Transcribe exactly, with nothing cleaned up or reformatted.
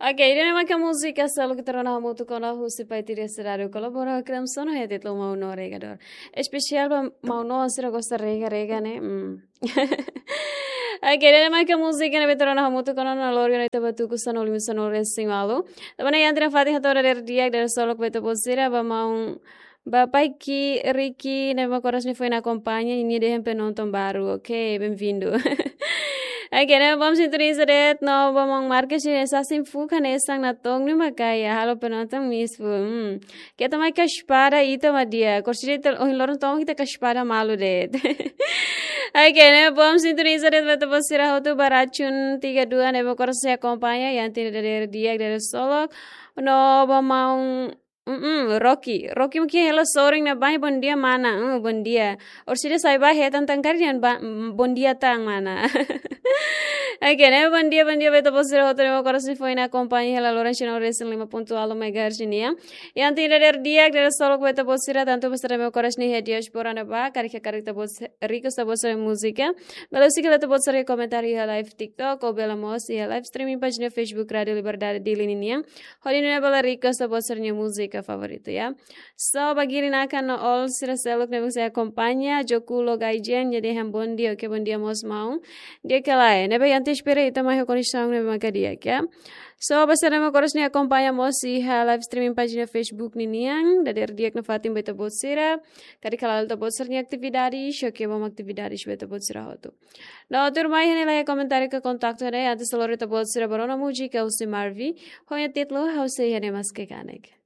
Ok, ida-ne'e mak múzika seluk ita rona hamutuk ona husi Pai Tiri Seradu kolabora ho Clemson, ho títulu Maun No Regador. Espesiál ba maun no sira gosta rega-rega ne'e. Hmm. Ok, ida-ne'e mak múzika ne'ebé ita rona hamutuk ona iha loron ohin, ita bá tuku sanulu-resin-ualu. Tanba ne'e iha tiha ona fatin hato'o dadeer di'ak, dadeer solok ba ita-boot sira, ba maun, ba Pai Ki Riki, ne'ebé mak oras ne'e foin akompaña, nia dehan penonton baru. Ok, bem-vindo. Ok, ne'e bom sintoniza de'it, no ba maun Marques, nia sasin fuka ne'e sang na tong ni makaya, halo penonton misfu. Hmm. Keta mai ka espada ita mak di'ak. Orsida ita ohin loron tomak ita ka espada malu de'it. Ok, ne'e bom sintoniza de'it ba ita-boot sira hotu ba Racun tiga dua ne'ebé mak oras ne'e akompaña, iha tiha ona dadeer di'ak, dadeer solok. No ba maun, mm, Rocky. Rocky mungkin hela sorin ne'e ba, bondia mana. Hmm, bondia. Orsida sai ba hetan tan karik dehan ba, mm, bondia tan mana. Ok, ne'e bondia, bondia ba ita-boot sira hotu ne'ebé mak oras ne'e foin akompaña iha loron sanulu-resin-lima pontu ualu megahertz nian. Iha tiha ona dadeer di'ak, dadeer solok ba ita-boot sira, tantu ba sira ne'ebé mak oras ne'e iha diáspora ne'ebá, karik, karik ita-boot se-, request ita-boot sira-nia múzika, bele husik hela ita-boot sira-nia komentáriu iha live TikTok, ou bele mós iha live streaming pájina Facebook Rádio Liberdade Dili ninian, hodi nune'e bele request ita-boot sira-nia múzika favoritu, ya. So, ba Giri Naka no Ol sira seluk ne'ebé mak sei akompaña, Joku Logaijen, nia dehan bondia, ok, bondia mós maun. Di'ak ka lae, ne'ebé ita espera ita mai ho koneksaun ne'ebé mak di'ak, ya. So, ba sira ne'ebé mak oras ne'e akompaña mós iha live streaming pájina Facebook ninian, dadeer di'ak nafatin ba ita-boot sira, karik hala'o ita-boot sira-nia atividade, so, ok, bom atividade ba ita-boot sira hotu. No tuirmai iha ne'e laiha komentáriu ka kontaktu ne'e, antes lori ita-boot sira ba rona múzika husi Marvi, ho títulu Ha'u Sei Iha Ne'e Maske Kanek.